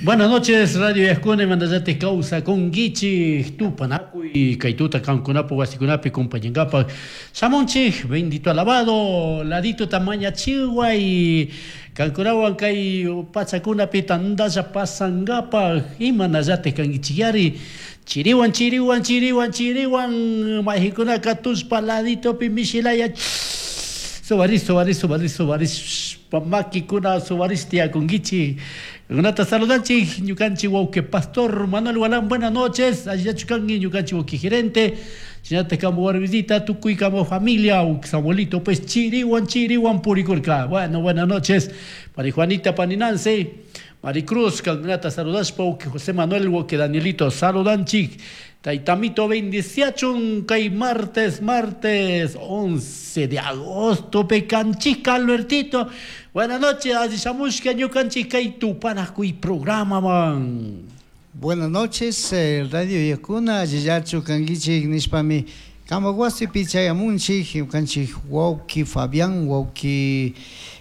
Buenas noches, Radio Yascuna, mandallate causa con Guichi, Tupanacuy, Kaituta, Cancunapo, Huasicunapi, compañengapa, Samonchik, bendito alabado, ladito tamaña chihuay, Cancunawan kay pachakunapi tandalla pasangapaj, imanallate kanguichiyari, chiriwan, chiriwan, chiriwan, chiriwan, majikunaka tushpa laditopi mishilaya, subaris, subaris, subaris, subaris, makikuna subaris tiyakunkichik. Kunata saludanchik, ñukanchik wawqi pastor Manuel Gualán, buenas noches, allillachu kanki ñukanchik wawqi gerente, shinatak kamu warmisita, tukuy kamu familia, Samuelito pues chiriwan, chiriwan purikurka. Bueno, buenas noches, Mari Juanita, pani Nancy, Maricruz, kankunata saludashpa, wawqi José Manuel, wawqi Danielito, saludanchik. Taytamito bendiciachun kay martes, martes 11 de agosto, pecanchik Albertito. Buenas noches, alli shamushka ñukanchik kay tupanakuy programa man. Buenas noches, Radio Yakuna, allillachu kankichik nishpami kampak wasipi chayamunchik, ñukanchik wawki Fabián, wawki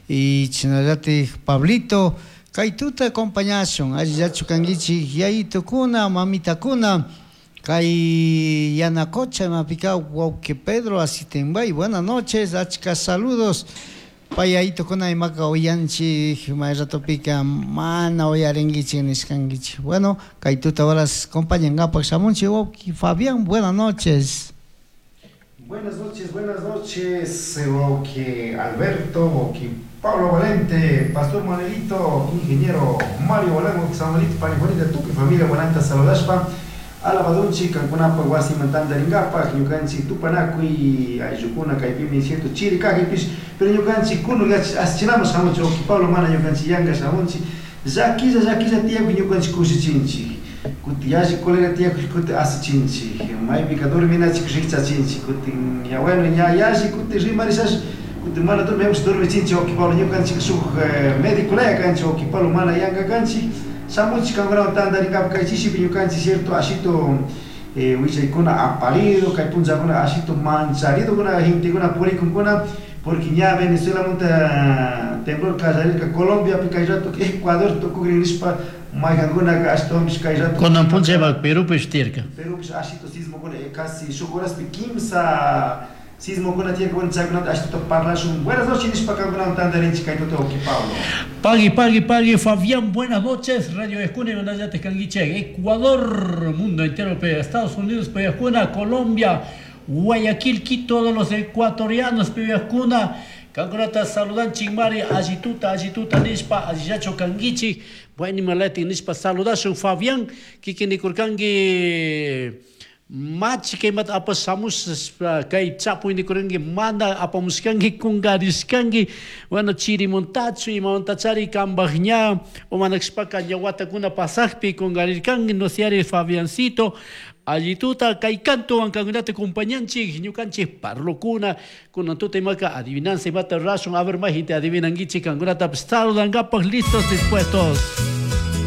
y chashnallatik Pablito, kay tuta acompañashun, allillachu kankichik yayitukuna, mamitakuna, kay Yanacocha imapika wawki Pedro Asitenbay, buenas noches, achka saludos. Pay yayitukuna imaka uyanchik, may ratopika mana uyarinkichik nishkankichik. Bueno, kay tuta horas acompañankapak shamunchik wawki Fabián, buenas noches. Buenas noches, wawki Alberto, wawki Pablo Valente, Pastor Manuelito, Ingeniero Mario Balán, wawki Samuelito, pani Juanita, tukuy familia buenanta saludashpa, alabadunchik, kankunapak wasiman tantarinkapak, ñukanchik tupanakuy, ayllukuna kaypimi cierto chiri kajpish, pero ñukanchik kunun asichinaman shamunchik, wawki Pablo mana ñukanchik yanka shamunchik, llakilla, llakilla tiyakuy ñukanchik kushichinchik, kuti yalli colega tiyakuy kuti asichinchik, maypika dorminachik rikchachinchik, kutin ya bueno, ña yalli kuti rimarishash, kuti mana dormiamush dormichinchik, wawki Pablo ñukanchik shuk médico laya kanchik, wawki Pablo mana yanka kanchik, shamunchik kankunawan tantarinkapak kay chishipi ñukanchik cierto ashito willaykuna aparido, kay punllakuna ashito mancharidokuna gentekuna purikunkuna, porque ña Venezuelamanta temblor kallarirka Colombiapi kay rato Ecuador tukukrin nishpa maykankunaka ashtawanpish kay rato Kunan punchaypak Perúpish tiyarka. Perúpish ashito sismokuna casi shuk horaspi kimsa sismokuna tiyarka, bueno chaykunata ashituta parlashun. Buenas noches nishpa kankunawan tantarinchik kay tuta wawki Pablo. Pagui, pagui, pagui, Fabián, buenas noches. Radio Escuna y Manayate Canguiche, Ecuador, mundo entero, Estados Unidos, Escuna, Colombia, Guayaquil, Quito, todos los ecuatorianos, Escuna. Kankunata saludan chimari, allituta, allituta nishpa, allillacho canguichi, bueno, malati nishpa saludashun Fabián, kikinikurkanki machi kaymata apash kay chapuy nikuranki mana apamushkanki kungarishkanki, bueno, chirimuntachu imamantachari kambaj ña o manakshpaka ña watakuna pasakpi kungarirkanki, no sé, Fabiancito, allituta kay kantuwan kankunata acompañanchik ñukanchik parlukuna kunan tuta imaka adivinanza imata rurashun, a ver majita adivinankichik kankunatapish saludankapak listos dispuestos.